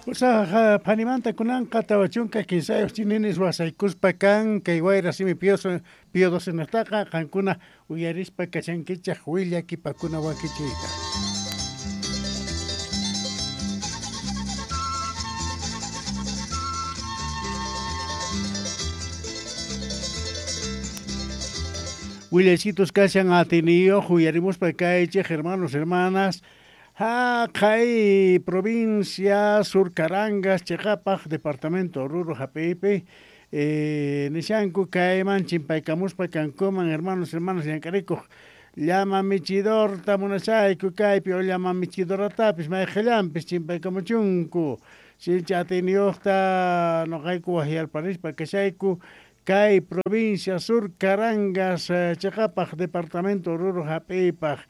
Pusaj phanimanta kunanqa 43 chininis wasaykuspa kan kay wayra simi Pío XII qankuna uyarispa kashankichej willakipakuna wakichiyta. Willaysitos kashan atiniyoj uyarimuspa kaychej hermanos, hermanas. Kay provincia Sur Carangas, cheqapaj, departamento Oruro, Jap'ipi, nishanku kayman chimpaykamuspa kankuman, hermanos, hermanas, llank'arikuq llama michidorta munashayku kaypi o llama michidoratapis mayqillanpis chimpaykamuchunku sinchi atiyniyuqta noqayku wajyarparispa kashayku kay provincia Sur Carangas, cheqapaj, departamento Oruro, Jap'ipaj.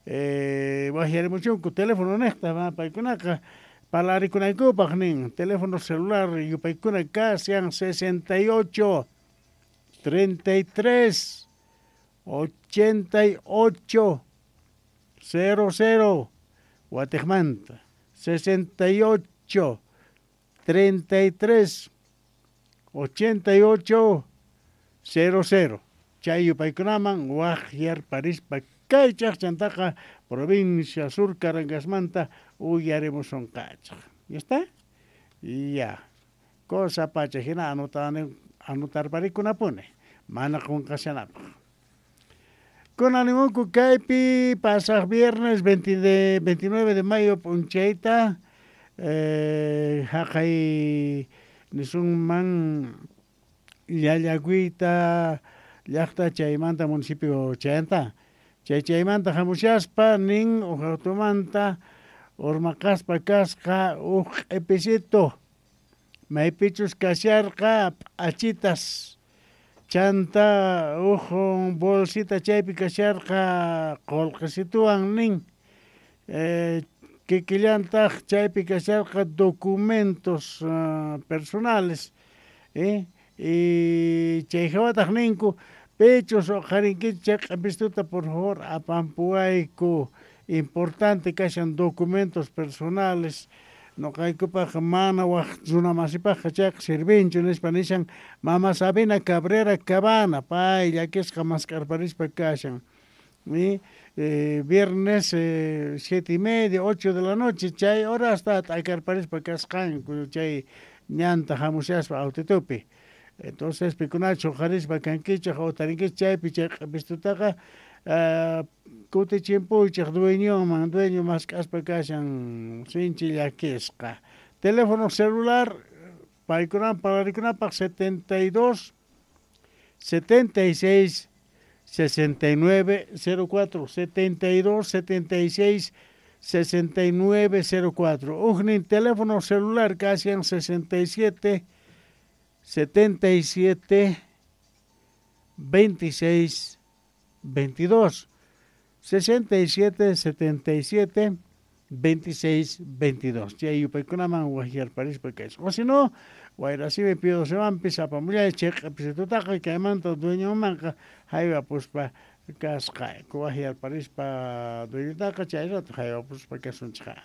Wajyarimuchunku teléfono nejta paykunaqa parlarikunaykupaj nin teléfono celular yupaykuna kashan 68 33 88 00 watejmanta 68 33 88 00 chay yupaykunaman wajyarparispa kaychaj chantaqa provincia Sur Carangasmanta uyarimusunqachej. ¿Ya está? Ya. Cosa pacha hina anotarparikunapuni mana qunqashanapaj. Kunanimunku kaypi pasaj viernes 29 de mayo p'unchayta jaqay nisunman llallakuyta llaqta chaymanta municipio chayanta. Chay chaymanta hamushaspa nin uj automanta urmaqaspa kasqa uj q'episito maypichus kasharqa p'achitas chanta uj bolsita chaypi kasharqa qullqisituwan nin kikillantaq chaypi kasharqa documentos personales y chay hawataq ninku pechos uqharinkichik chay q'epistuta por favor apampuwayku importante kashan documentos personales noqaykupaq mana waj runamasipaqqa chayqa sirvinchu nispa nishan mama Sabina Cabrera Cabana pay llakisqa mask'arparispa kashan. Viernes 7:30, 8 de la noche chay horasta t'akarparispa kasqanku chay ñanta hamushaspa autitupi. Entonces pikunachu uqharispa kankichej o tarinkichej chaypi chay q'epistutaqa kutichimpuychej dueñoman, dueño mask'aspa kashan sinchi llakisqa. Teléfono celular paykunaman parlarikunapaq 72 76 69 04 72 76 69 04. Ujnin teléfono celular kashan 67 77 26 22 67 77 26 22. Chay yupaykunaman wajyarparispa kaysa. O si no, wayrasimi Pío XII apamullay chay q'episitutaqa kaymanta dueñomanqa haywapuspa kasqayku wajyarparispa dueñotaqa chay rato haywapuspa kasunchej.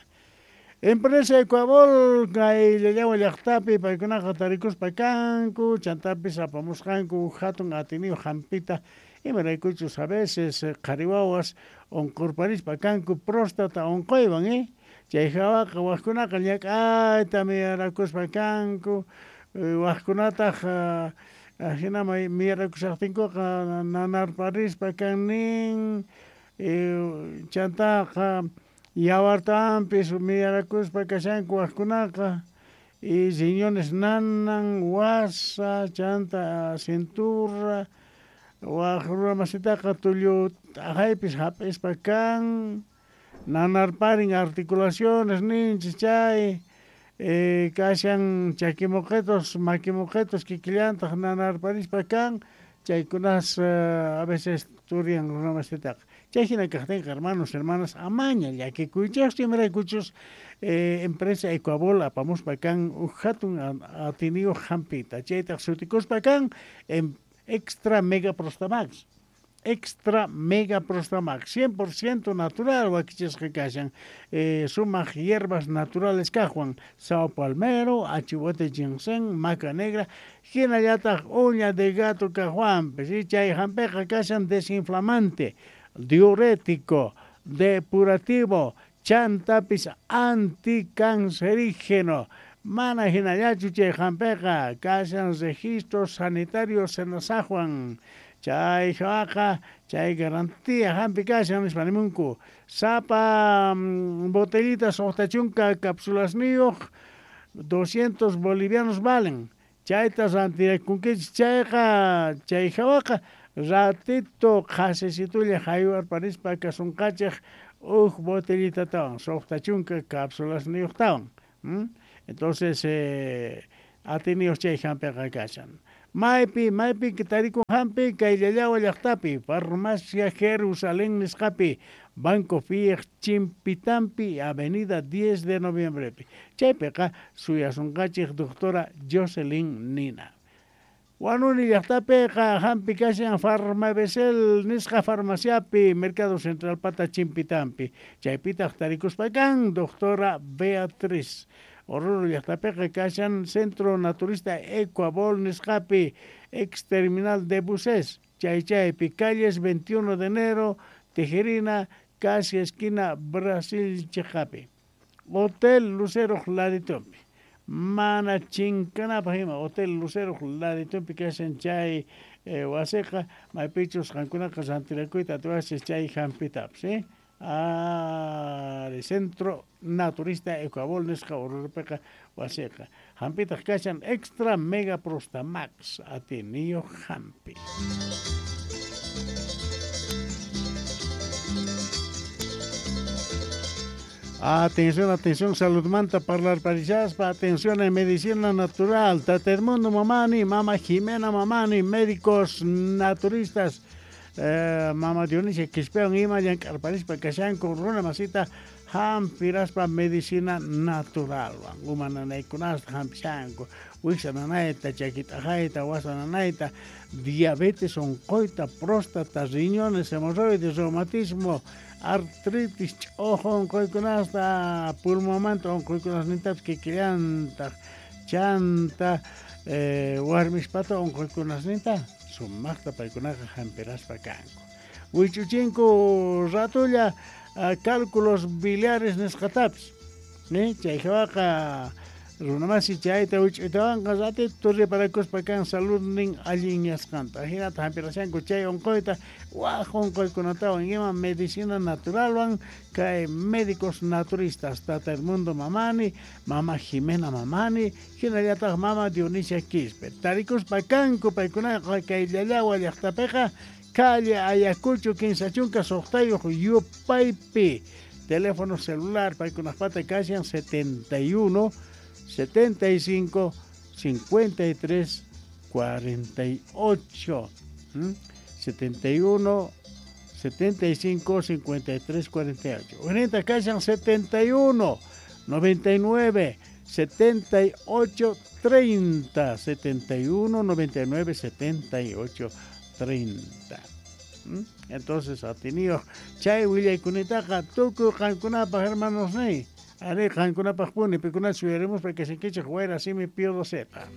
Empresa Ecuabol kay Llallawa llaqtapi paykunaqa tarikuspa kanku chantapis apamusqanku hatun atiniyuq hampita imaraykuchus a veces qhari wawas unqurparispa kanku próstata unquywan chay hawaqa wajkunaqa llak'ayta miyarakuspa kanku wajkunataq ajinama miyarakushaqtinkuqa nanarparispa kan nin chantaqa yawartampis miyarakuspa kashanku wajkunaqa y riñones nanan, wasa, chanta cintura, waj runamasitaqa tullu t'aqaypis hap'ispa kan, nanarparin articulaciones ninchis chay, kashan chakimoqetos, makimoqetos kikillantaq nanarparispa kan, chaykunas a veces turian runamasitaqa. Chay hina kaqtinqa hermanos, hermanas, amaña llakikuychejchu imaraykuchus empresa Ecuabol apamuspa kan uj hatun atiniyuq hampita chaytaq sutikuspa kan extra mega prostamax. Extra Mega Prostamax, 100% natural wakichisqa kashan, sumaq hierbas naturales kajwan, sao palmero, achihuate ginseng, maca negra, hinallataq uña de gato kajwanpis, chay hampiqa kashan desinflamante, diurético, depurativo, chantapis anticancerígeno. Mana hinallachu chay hampiqa kashan registro sanitario Senasajwan. Chay hawaqa chay garantía hampi kashan nispa nimunku. Sapa botellita suqta chunka capsulasniyuq 200 bolivianos valen. Chayta rantirakunkichik chayqa chay hawaqa ratito qhasisitulla haywarparispa kasunqachik uj botellitatawan suqta chunka capsulasniyuqtawan. Entonces atiniyuq chay hampiqa kashan. Maypi, maypi tarikun hampi kay Llallawa llaqtapi, Farmacia Jerusalén nisqapi, Banco Fiej Chimpitampi, Avenida 10 de Noviembrepi. Chaypiqa suyasunqachik doctora Jocelyn Nina. Wanuni llaqtapiqa hampi kashan Farmabesel nisqa farmaciapi, Mercado Central pata Chimpitampi. Chaypitaq tarikuspa kan doctora Beatriz. Oruro llaqtapiqa kashan Centro Naturista Ecuabol nisqapi, ex terminal de buses, chay chaypi, calles 21 de enero, Tijerina, casi esquina Brasil chiqapi. Hotel Lucero laditumpi. Mana chinkanapaq ima Hotel Lucero laditumpi kashan chay wasiqa, maypichus qankunaqa rantirakuyta atiwachis chay hampitapas, Centro Naturista Ecuabol nisqa Oruropiqa wasiqa. Hampitaq kashan Extra Mega Prostamax atiniyuq hampi. Atención, atención, salud manta parlar parishaspa, atención en medicina natural, Tata Edmundo Mamani, Mama Jimena Mamani, médicos naturistas, Mama Dionisia Quispeon ima llank'arparispa kashanku runa masita hampiraspa medicina natural, uma nanaykunasta hampishanku, wiksa nanayta, chakit'aqayta, wasa nanayta, diabetes onqoyta, próstata, riñones, hemorroides, reumatismo, artritis, ch'ojo onqoykunasta, pulmonmanta onqoykunasnintapis kikillantaq, chanta warmispata onqoykunasninta sumaqta paykunaqa hampiraspa kanku. Wich'uchinku ratulla cálculos biliares nisqatapis, chay hawaqa runamasi chayta wich'uytawanqa ratito reparakuspa kan saludnin allinyasqanta. Hinata hampirashanku chay onqoyta waj onqoykunatawan ima medicina naturalwan kay médicos naturistas Tata Edmundo Mamani, Mama Jimena Mamani, hinallataq Mama Dionisia Quispe. Tarikuspa kanku paykunaqa kay Llallawa llaqtapiqa calle Ayacucho 56 Yupaypi. Teléfono celular paykunaqpata kashan 71 75 53 48. 71 75 53 48. Ahorita kashan 71 99 78 30. 71 99 78 30. Entonces atiniyo chay willaykunitaqa tukuy qankunapaq hermanos ni. Ari qankunapaq puni pikunachus uyarimuspa kashankichik wayra simi Pío Zeta.